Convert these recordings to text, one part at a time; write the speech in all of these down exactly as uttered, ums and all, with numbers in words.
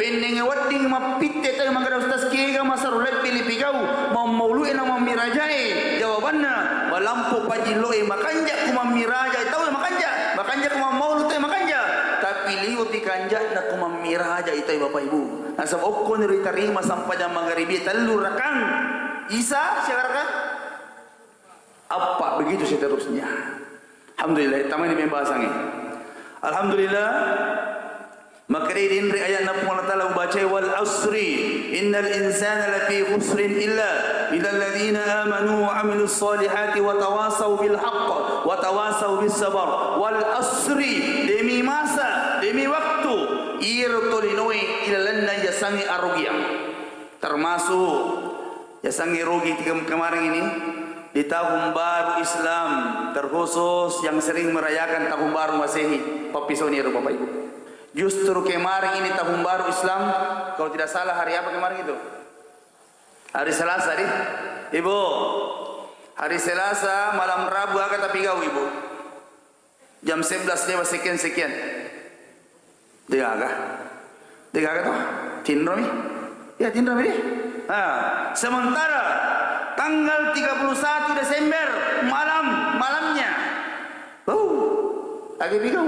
Ennenge wedding mappitte tau makkeda, "Ustaz, kega masero lebbi lipigau mammaulu'e na mammirajae?" Jawabanna, malampu pajillo'e makanja ku mammiraja tau makanja, makanja ku mammaulu tau makanja. Tapi liwepi kanja'na ku mammiraja tau, Bapak Ibu. Nasaba okko ni ritarima sampajang magaribi tellu rakang. Isa siaga rakang? Appa, begitu seterusnya. Alhamdulillah, tamani pembahasangnge. Alhamdulillah, makkedai denre ayatna Puang Allah Taala ubacai, "Wal asri, innal insana lafi khusrin illa illal ladzina amanu wa amilus solihati wa tawasau bil haqq wa tawasau bis sabar." Wal asri, demi masa, demi waktu, iyaro tolinoe ilalenna yasengnge arugiang. Termasuk yasengnge rugi tiga kemarin ini di tahun baru Islam, terkhusus yang sering merayakan tahun baru Masehi, pappisoni ro Bapak Ibu. Justru kemarin ini tahun baru Islam, kalau tidak salah hari apa kemarin itu? Hari Selasa, di? Ibu, hari Selasa malam Rabu aga tapigau, Ibu? Jam sebelas lewat sekian-sekian. Degaga. Degaga toh? Tinromi. Ya, tinromi deh. Nah, sementara tanggal tiga puluh satu Desember malam, malamnya. Bau. Lagi pigau.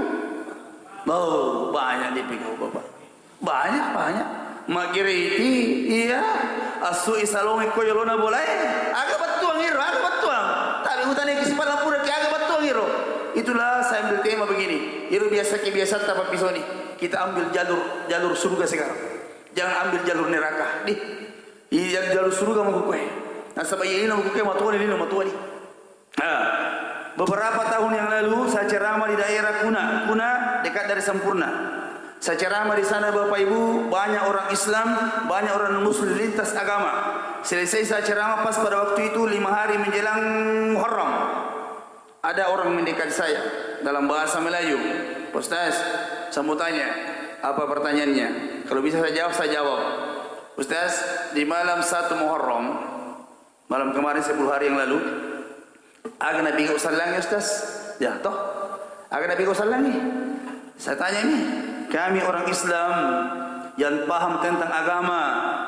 Bau, banyak dipigau, Bapak. Banyak, banyak. Magiriti, iya. Asui salongi ko yolona bolae. Aga bettuang iro, aga bettuang. Tapi utane ki sipala pura ki aga bettuang iro. Itulah saya ambil tema begini. Iro biasa ki biasa ta pappisoni. Kita ambil jalur jalur surga sekarang. Jangan ambil jalur neraka. Di. Iya, jalur surga mau kue. Nasaba iya ini mau kue matuani, ini matuani. Nah, beberapa tahun yang lalu saya ceramah di daerah Kuna. Kuna dekat dari Sempurna. Saya ceramah di sana, Bapak Ibu, banyak orang Islam, banyak orang Muslim lintas agama. Selesai saya ceramah, pas pada waktu itu lima hari menjelang Muharram. Ada orang mendekati saya, dalam bahasa Melayu, "Ustaz, saya mau tanya, apa pertanyaannya?" Kalau bisa saya jawab, saya jawab. "Ustaz, di malam satu Muharram, malam kemarin, sepuluh hari yang lalu, aga napigau sallangi, Ustaz?" Ya, toh? "Aga napigau sallangi?" Saya tanya ini, kami orang Islam yang paham tentang agama,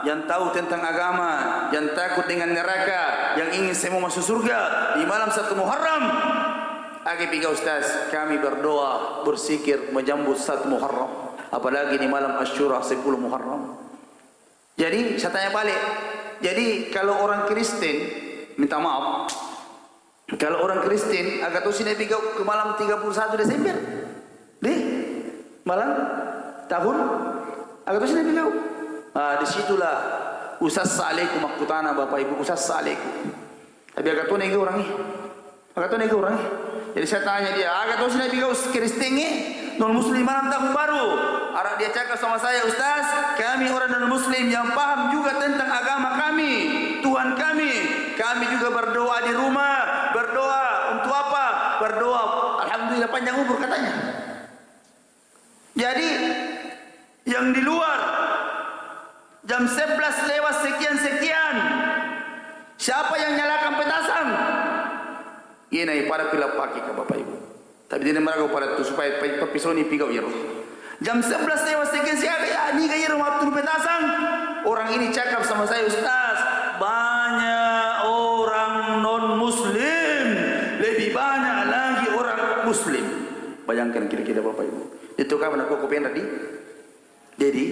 yang tahu tentang agama, yang takut dengan neraka, yang ingin semua masuk surga di malam satu Muharram. Aga pigau, Ustaz? Kami berdoa, berzikir, menyambut satu Muharram. Apalagi di malam Asyura, sepuluh Muharram. Jadi, saya tanya balik. Jadi, kalau orang Kristen, minta maaf, kalau orang Kristen, aga tosi napigau ke malam tiga puluh satu Desember? Deh, malam tahun, aga tosi napigau? Ah, disitulah usassa alaikum makkutana, Bapak Ibu, usassa alaikum. Tapi aga tona ega orang, eh. Aga tona ega orang, eh. Jadi saya tanya dia, aga tosi napigau Kristen, eh, non Muslim malam tahun baru? Ara dia cakap sama saya, "Ustaz, kami orang non Muslim yang paham juga tentang agama kami, Tuhan kami. Kami juga berdoa di rumah." "Berdoa untuk apa?" "Berdoa, Alhamdulillah, panjang umur," katanya. Jadi, yang di luar, jam sebelas lewat sekian-sekian, siapa yang nyalakan petasan? Ina pada pila pake ke Bapak Ibu. Tapi dia maraga pada tu supaya pa-, pappisoni pigau iro. Jam sebelas lewat sekian, siapa ya? Niga iro matturu petasan? Orang ini cakap sama saya, "Ustaz, banyak orang non Muslim, lebih banyak lagi orang Muslim." Bayangkan kira-kira, Bapak Ibu. Itu kapan aku, aku pengen tadi? Jadi,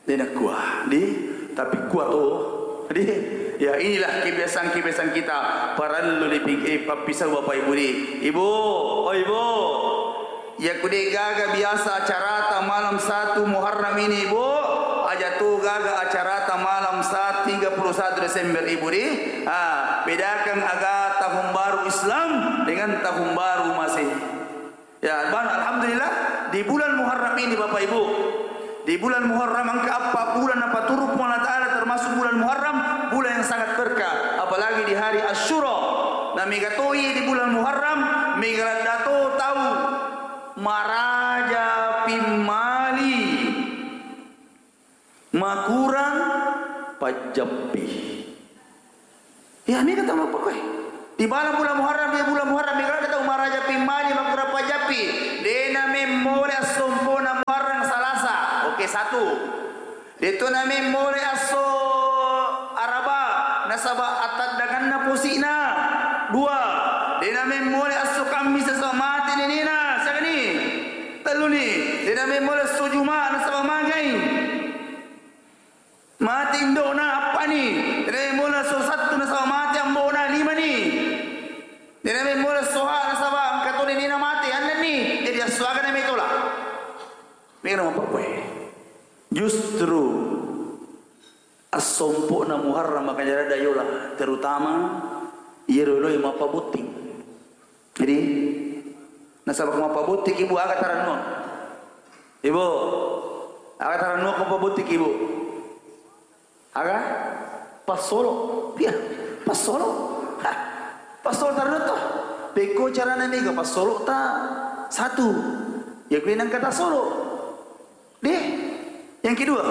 de nakkua, di, tapi kua to, di, ya, inilah kebiasaan-kebiasaan kita. Parellu dipi-, eh, pappisau, Bapak Ibu, di. Ibu, oh, Ibu. Iya, ku de gaga biasa acarata malam satu Muharram ini, Ibu. Aja tu gaga acarata malam sa-, tiga puluh satu Desember, Ibu, di. Ah, bedakan aga tahun baru Islam dengan tahun baru Masehi. Ya, bang, alhamdulillah, di bulan Muharram ini, Bapak Ibu, di bulan Muharram, engka eppa bulan napaturu Puang Allah Ta'ala, termasuk bulan Muharram, bulan yang sangat berkah, apalagi di hari Asyura. Nah, mega toi di bulan Muharram, mega ladda to tau maraja pimmali. Makurang pajjappi. Iya, mega tau mappakoe. Di bala bulan Muharram, di bulan Muharram, mega ladda tau maraja pimmali, makurang pajjappi. Dena memmole assompona Muharram Salasa. Oke, satu. De'to namemmole esso Araba nasaba ataddanganna posi'na. Dua, de' namemmole esso Kammisa nasaba mate nenena, siagani? Telluni, de' namemmole esso Juma nasaba magai, mate indo'na, appani. De' namemmole esso Sattu nasaba mate ambo'na, limani. De' namemmole esso Ha nasaba engka to nenena mate, ennenni. Jadi esso aga namaitola? Mega mappakkue. Justru assompo'na Muharram makanya ada yola, terutama iyaro loi mappabotting. Jadi, nasaba ko mappabotting, Ibu, aga tarennuang? Ibu, aga tarennuang ko mappabotting, Ibu? Aga? Passolo. Iya, passolo. Hah, passolo tarennuang to. Pekko carana mega passolo ta satu. Ya, kuwi nangka tassolo. Deh, yang kedua,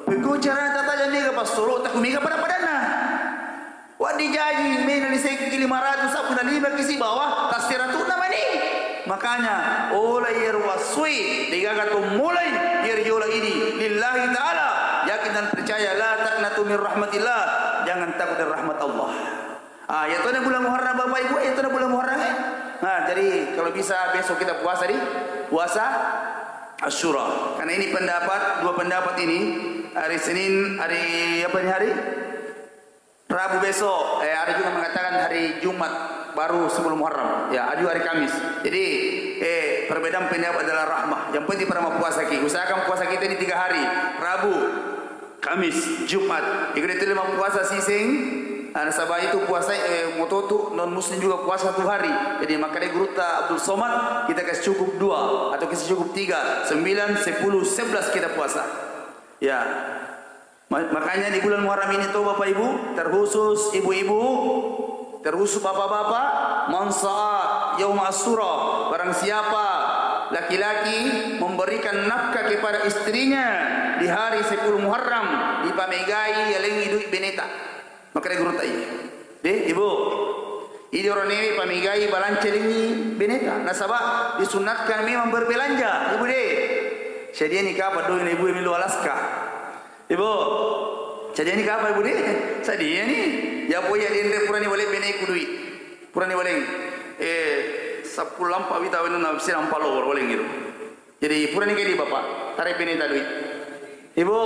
pekko carana tataja mega passolo, takku mega pada-padanna. Waddi jaji mena lisekki lima ratus, sabbuna lima ki sibawa, tasseratunna mani. Makanya, ola iyaro wassui, degaga to mulai, iyaro yola ini, lillahi ta'ala, yakin dan percaya, la taqnatu min rahmatillah, jangan takut dari rahmat Allah. Ah, ya tona bulan Muharram, Bapak Ibu, ya tona bulan Muharram, eh. Nah, jadi kalau bisa besok kita puasa di puasa Asyura. Karena ini pendapat, dua pendapat ini, hari Senin, hari apa ini hari? Rabu besok, eh, ada juga mengatakan hari Jumat baru sebelum Muharram. Ya, ada juga hari Kamis. Jadi, eh, perbedaan pendapat adalah rahmah. Yang penting pada mau puasa ki. Usahakan puasa kita ini tiga hari. Rabu, Kamis, Jumat. Iko de' tuli mappuasa siseng. Ah, nasaba itu puasa, eh, mototu non muslim juga puasa satu hari. Jadi makanya gurutta Abdul Somad, kita kasih cukup dua atau kasih cukup tiga, sembilan, sepuluh, sebelas kita puasa. Ya. Ma-, makanya di bulan Muharram ini tuh Bapak Ibu, terkhusus ibu-ibu, terus bapak-bapak, "Man sa'a yauma Asyura," barang siapa laki-laki memberikan nafkah kepada istrinya di hari sepuluh Muharram, dipamegai yalengngi duit beneta. Makanya guru tai. Deh, Ibu. Idi orang newe pamegai balanca lengngi beneta. Nasaba disunatkan memang berbelanja, Ibu deh. Sadiani kapang doi na ibu e melo Alaska. Ibu, sadiani kapang ibu de? Sadiani. Ya po iya denre purani waleng beneku dui. Purani waleng. Eh, seppulo lampa wita wenunna sirang palo waleng itu. Jadi purani kedi bapak, tarai beneta dui. Ibu,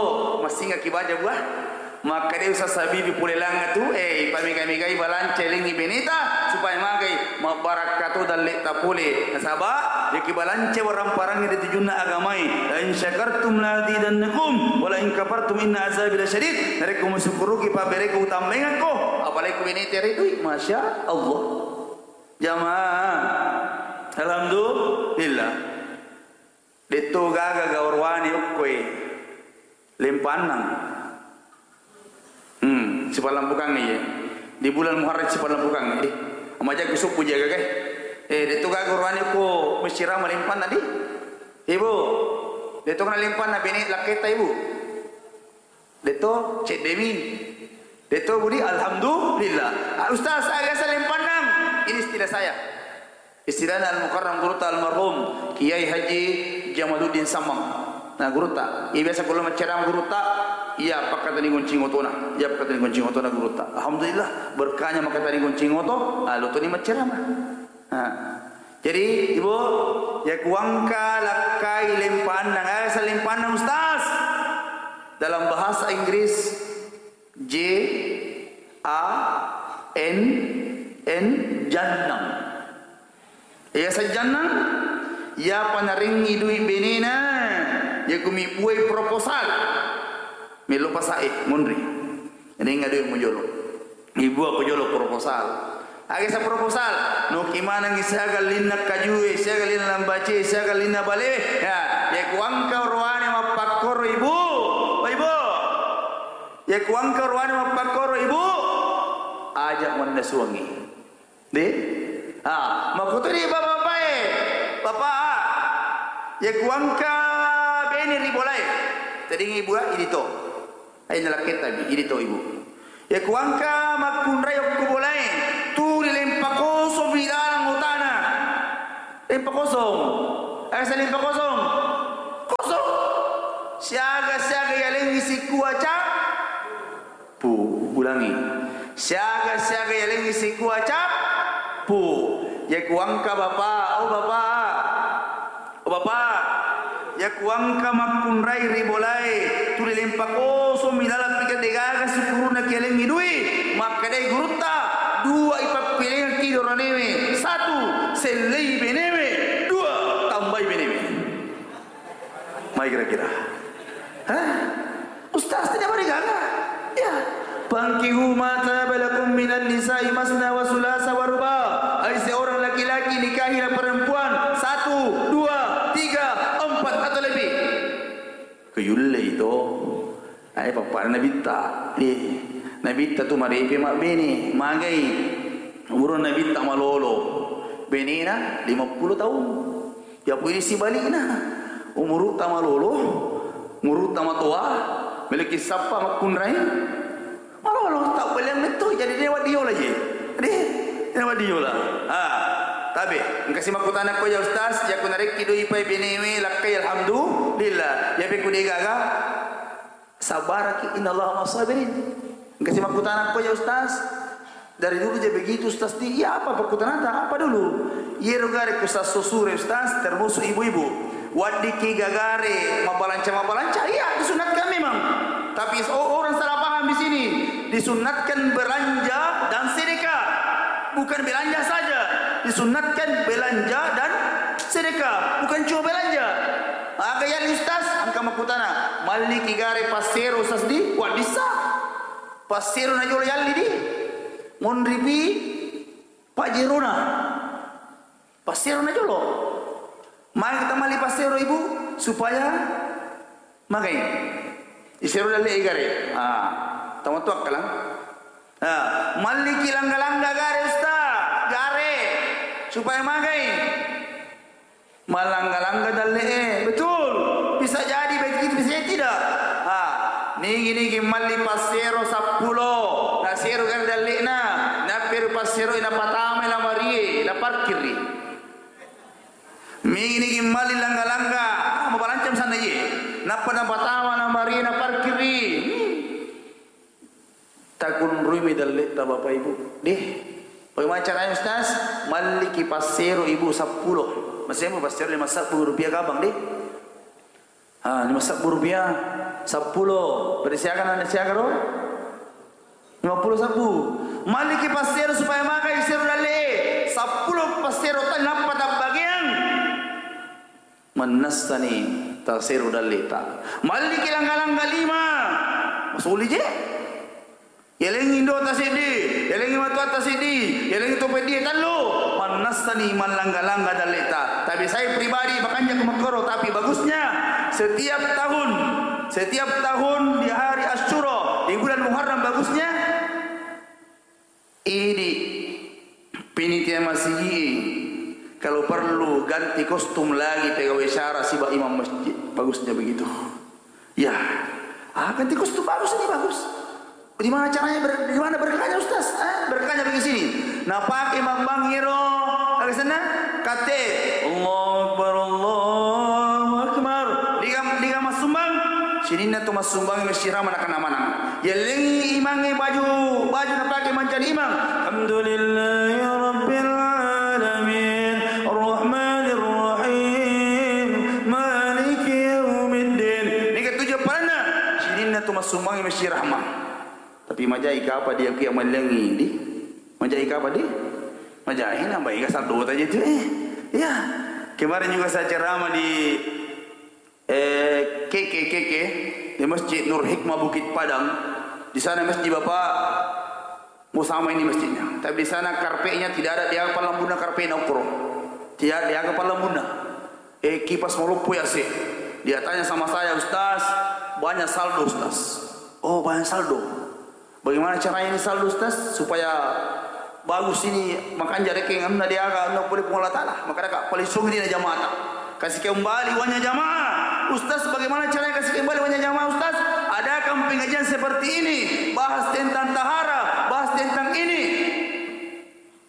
massingaki baja buah. Makkeda Ustaz Habibi pole langa tu, eh, ipamega-megai balanca lengngi beneta supaya magai. Mabbarakka to dalletta pole. Nasaba, yaki balanca warang-parangnge ri tujunna agamae. "La in syakartum la azidannakum, wa la in kafartum inna azabi lasyadid." Narekko musukkuruki pabberekku utambaengakko, apalagi ku beneta ri dui. Masya Allah. Jamaah. Alhamdulillah. Detto gaga gawarwane okkoe. Lempannang. Hmm, sipallampukangngi ye. Di bulan Muharram sipallampukangngi. Amaja ku suppu jaga ke. Eh, detto gaga gawarwane ko mesirama lempanna di. Ibu. Detto kana lempanna bene lakketta ibu. Detto ceddemi. Detto budi alhamdulillah. Ah, Ustaz, saya salempannang. Ini istilah saya. Istilahna Al-Mukarram gurutta almarhum Kiai Haji Jamaluddin Sammang. Nah, gurutta. Iya biasa kalau maccarama gurutta, iya pakkatani goncing otona. Iya pakkatani goncing otona gurutta. Alhamdulillah, berkahnya makkatani goncing oto, ah, lotoni maccarama. Nah. Jadi, Ibu, ya kuangka lakkai lempanna. Eh, salempannang Ustaz. Dalam bahasa Inggris, J A N N, jannang. Iya, sajjannang, iyapa narengngi dui benena, iya kumi buai proposal. Melo pasae, munri. Rengnga dui mujolo. Ibu aku jolo proposal. Aga sa proposal? Noki manengngi siaga linna kajue, siaga linna lambace, siaga linna balewe. Ya, ya kuangka oroane mappakkoro ibu. Oh, ibu. Ya kuangka oroane mappakkoro ibu, aja mannasuangngi. De? Ah, makkutuni bapak-bapak e. Bapak, ya kuangka bene ri bolae. Tadingi ibu, ah, idi to. Ai nalakketta bi, idi to ibu. Ya kuangka makkunrai okko bolae. Tuli lempa kosong ri dalang otana. Lempa kosong. Aga sa lempa kosong? Kosong. Siaga-siaga yalengngi sikua cappu. Ulangi. Siaga-siaga yalengngi sikua cappu. Yaku engka bapa, oh bapa. Oh bapa. Yaku engka makkunrai ri bolae, tuli lempa kosong mi laleng pika degaga sikuruna kialengngi dui. Makkedai gurutta, dua ipappilengki doranewe. Satu, sellei benewe. Dua, tambai benewe. Mai kira-kira. Hah? Ustaz, tidak berigaga. Ya. Fankihu ma taba lakum minan nisa'i masna wa sulasa wa ruba. Hai seorang laki-laki, nikahilah perempuan satu, dua, tiga, empat atau lebih. Kuyulle itu. Ai papa Nabitta. Eh, Nabitta tu marepe mabbene, magai. Umur Nabitta malolo. Benena lima puluh tahun. Ya pui sibalikna. Umurutta malolo, umurutta matoa, meleki sappa makkunrai. Malolo, tau beliang metto, jadi dewa diola je. Deh, dewa diola. Ah, tabe, engka si makkutana ko ya Ustaz, ya ku narekki doi pai benewe, lakkai alhamdulillah. Ya pe ku degaga. Sabaraki, innallaha ma'as sabirin. Engka si makkutana ko ya Ustaz. Dari dulu je begitu Ustaz di, iya apa pakkutanata? Apa dulu? Iyero gare ku sasso sure Ustaz, termasuk ibu-ibu. Waddiki gagare mabalanca-mabalanca, iya disunatkan memang. Tapi o-, orang salah paham di sini. Disunatkan belanja dan sedekah. Bukan belanja saja. Disunatkan belanja dan sedekah. Bukan cuma belanja. Aga yalli Ustaz, engka makkutana, malliki gare passero Ustaz di, waddissa. Passero na jolo yalli di. Monripi pajerona. Passero na jolo. Magi kita malli passero ibu supaya magai. Isero dalle gare. Ah, tamattu akkalang. Ah, malliki langga-langga gare Ustaz, gare supaya magai. Malangga-langga dalle'e, betul. Bisa jadi begitu, bisa jadi tidak. Ha, nigi-nigi malli passero seppulo, nasero gare dalle'na, napperu passero napatamai lamarie, naparkirri. Nigi-nigi malli langga-langga, ah, mapalancam sanna iye. Nappa napatama lamarie, naparkirri. Hmm. Takunruimi dalle'ta, Bapak Ibu. Deh, bagaimana caranya, Ustaz? Malliki passero ibu seppulo. Masemmu passero lima sebbu rupiah kabang, deh. Ah, lima sebbu rupiah, seppulo. Berarti siaga nana siaga, ro? Lima puluh sebbu. Malliki passero supaya magai sero dalle'e. Seppulo passero ta-, nappa tabbagiang. Mannassani tasero dalle'ta. Malliki langga-langga lima. Masuli je. Yalengi indo'ta seddi, yalengi matuatta seddi, yalengi to peddie tellu. Mannassani mallangga-langga dalle'ta. Tapi saya pribadi makanja ku makkoro, tapi bagusnya setiap tahun, setiap tahun di hari Asyura, di bulan Muharram bagusnya Idi, panitia masigi, kalau perlu ganti kostum lagi pegawai syara siba imam masjid. Bagusnya begitu. Ya, ah, ganti kostum bagus ini, bagus. Di mana caranya ber-, di mana berkahnya, Ustaz? Eh, berkahnya begini sini. Nah, pakai mambang iro, agak sana, kate, Allahu Akbar, Allahu Akbar. Diga, diga massumbang, sininna tu massumbang masjid rama nakana manang. Yellengi imangnge baju, baju napake mancaji imang. Alhamdulillahi rabbil alamin, arrahmanir rahim, maliki yaumiddin. Niga tuju paranna? Sininna tu massumbangi masjid rahma. Tapi majai kapa dia kia mellengi di? Majai kapa di? Majai nambah iga saldo taja tu, eh. Ya. Kemarin juga saya ceramah di Eh, K K, K K, di Masjid Nur Hikmah Bukit Padang. Di sana masjid Bapak Usama ini masjidnya. Tapi di sana karpetnya tidak ada, dia palambuna karpetna ukro. Tidak ada, dia palambuna. Eh, kipas maloppo ya sih. Dia tanya sama saya, "Ustaz, banyak saldo, Ustaz." "Oh, banyak saldo." Bagaimana caranya ini saldo, Ustaz, supaya bagus ini, makanja rekeng anunna deaga anunna pole Puang Allah Ta'ala? Maka deka paling sungi dina jamaata. Kasih kembali uangnya jamaah. Ustaz, bagaimana caranya kasih kembali uangnya jamaah, Ustaz? Adakan pengajian seperti ini, bahas tentang tahara, bahas tentang ini.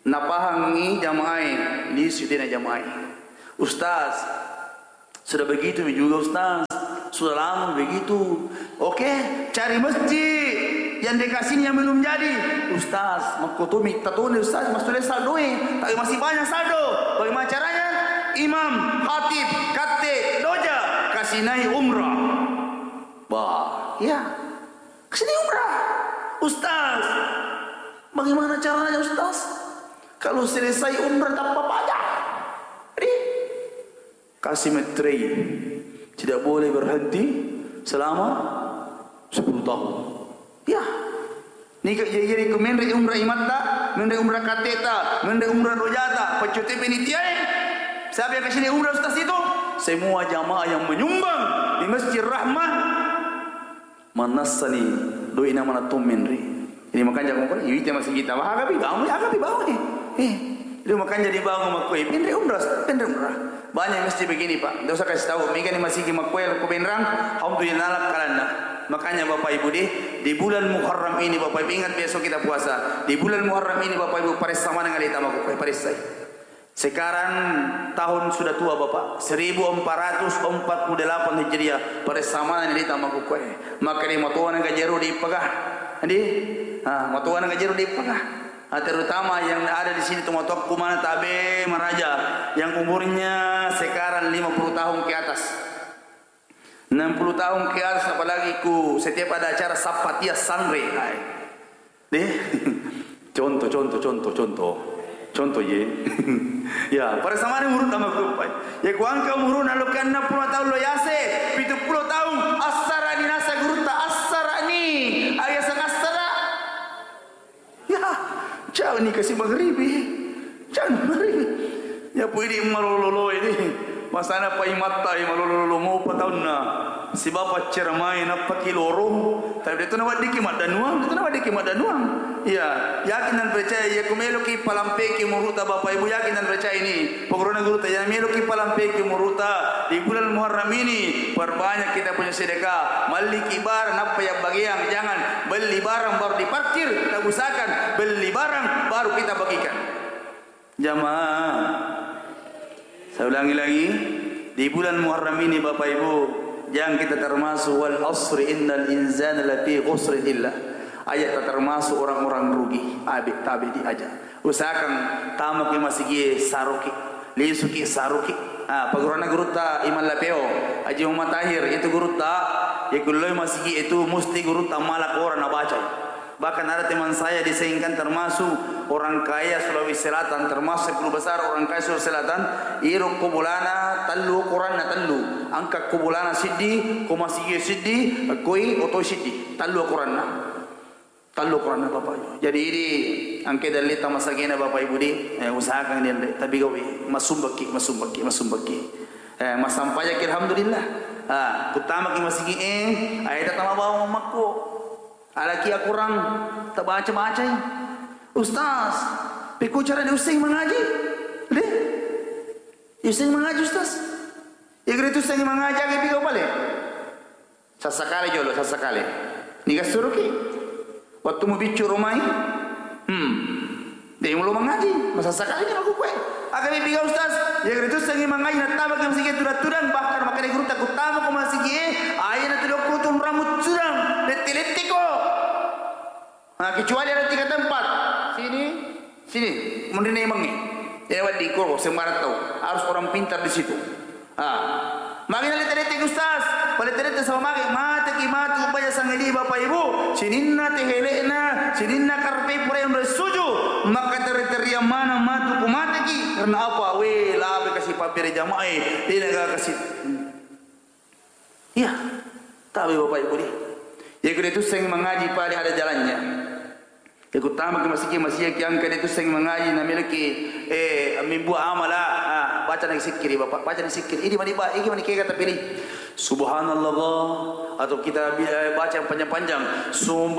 Napahangi jamaah, lisu dina jamaah. Ustaz, sudah begitu mi juga, Ustaz. Sudah lama begitu. Oke, cari masjid yang dekat sini yang belum jadi. Ustaz, makkotomi tatone Ustaz, masih saldo e. Tapi masih banyak saldo. Bagaimana caranya? Imam, khatib, katte, doja, kasih naik umrah. Bah, ya. Kasih naik umrah. Ustaz, bagaimana caranya Ustaz? Kalau selesai umrah tanpa pajak. Ri? Kasih metrei. Tidak boleh berhenti selama sepuluh tahun. Ya. Nika jadi ku menre umrah imatta, menre umrah kateta, menre umrah rojata, paccote penitiae. Siapa yang kasih umrah ustaz itu? Semua jamaah yang menyumbang di Masjid Rahmah. Mannassani doi na mana to menre. Jadi makanya aku bilang, "Iwite masigi kita, wah, agapi bangun, agapi bangun eh." Eh, jadi makanya dibangun makkoe, penre umrah, penre umrah. Banyak masjid begini, Pak. Nggak usah kasih tahu, mega ni masigi makkoe, ko benrang, alhamdulillah, kalanna. Makanya Bapak Ibu deh, di bulan Muharram ini, Bapak Ibu ingat besok kita puasa. Di bulan Muharram ini, Bapak Ibu, paressa maneng aleta makkoe, paressai. Sekarang tahun sudah tua, Bapak, seribu empat ratus empat puluh delapan Hijriah, paressa maneng aleta makkoe. Maka di matoana gajero di pegah. Di? Ah, matoana gajero di pegah. Ah, terutama yang ada di sini, tomatoakku mana tabe maraja, yang umurnya sekarang lima puluh tahun ke atas. Enam puluh tahun ke atas, apalagi ku setiap ada acara sappa tia sanre. Hai. Deh. Contoh, contoh, contoh, contoh. Contoh ye. Ya, pada sama ni umurutta makkupai. Ya, ku engka umuruna lo ke enam puluh tahun lo yase, pitu puluh tahun, assara ni nasa gurutta, assara ni. Ayasa assara. Ya, jani kasi magribi. Jani magribi. Ya, pui di malolo-lolo ini. Masana pai matta, eh, malolo-lolo mopa taunna. Sibawa paccermai nappaki loro. Tapi detu nawaddiki maddanuang, detu nawaddiki maddanuang. Ya, yakin dan percaya, ya, ku meloki palampeki umurutta Bapak Ibu, yakin dan percaya ini. Pokokna gurutta, ya, meloki palampeki umurutta di bulan Muharram ini, perbanyak kita punya sedekah. Malliki barang, nappa ya bagian, jangan beli barang baru diparkir, kita usahakan beli barang baru kita bagikan. Jamaah, saya ulangi lagi, di bulan Muharram ini, Bapak Ibu, jangan kita termasuk, "Wal asri innal insana lafi khusrin illa." Aja' tak termasuk orang-orang rugi. Abe' tabe' di aja'. Usahakan tamaki masigi saruki, lisuki saruki. Ah, paguruna gurutta Imam Lapeo, Haji Muhammad Tahir, itu gurutta, ya kulloi masigi itu musti gurutta mala Quran nabacai. Bahkan ada teman saya di Sengkang termasuk orang kaya Sulawesi Selatan, termasuk guru besar orang kaya Sulawesi Selatan, iro ko bolana tellu, ukuranna tellu. Engka ko bolana siddi, ko masigi siddi, koi oto siddi. Tellu ukuranna. Tellu ukuranna Bapak Ibu. Jadi ini engka dalli tamasagena Bapak Ibu di, eh, usahakan di, tapi gawe, masumbaki, masumbaki, masumbaki. Eh, masampajaki alhamdulillah. Ah, kutamaki masigi, eh, ayata tama bawa makko. Alaki akurang, tabaca-bacai. Ustaz, pekko cara diusseng mangaji? Deh, diusseng mangaji, Ustaz? Iga ritussengi mangaji, aga piga pale? Sassakale jolo, sassakale. Niga suruki? Wattu mubiccu romai? Hmm. Dé mulo mangaji, masassakali ni makkukkué. Aga mépiga ustaz, iyagaritu sengngi mangaji, nattamaki masigié tudang-tudang, bahkan makkeda gurutta, "Kuttamako masigié, aja natudokko tunramu tudang, lette-letteko." Nah, kecuali ada tiga tempat. Sini, sini, munrinna imengnge. Iya wedding ko sembarang tau, harus orang pintar di situ. Ah. Magi nalette-letteki ustaz, palette-lette sama magi, mateki matu baja sangedi bapak ibu, sininna tehele'na, sininna karpe pura yang suju, maka teri-teriang mana matu ku mateki, karena apa? We, labe kasi pabbere jamae, dena ga kasi. Iya, tabe bapak ibu di. Ya kuda itu seng mengaji paling ada jalannya. Ikuttamaki masigi, masiaki angka de tusseng mangaji, namiliki, eh, mimbu amala, ah, baca nagi sikkiri, Bapak, baca nagi sikkiri. Idi mani ba, iki mani kega tapili. Subhanallah, atau kita bi-, eh, baca yang panjang-panjang. Sumbu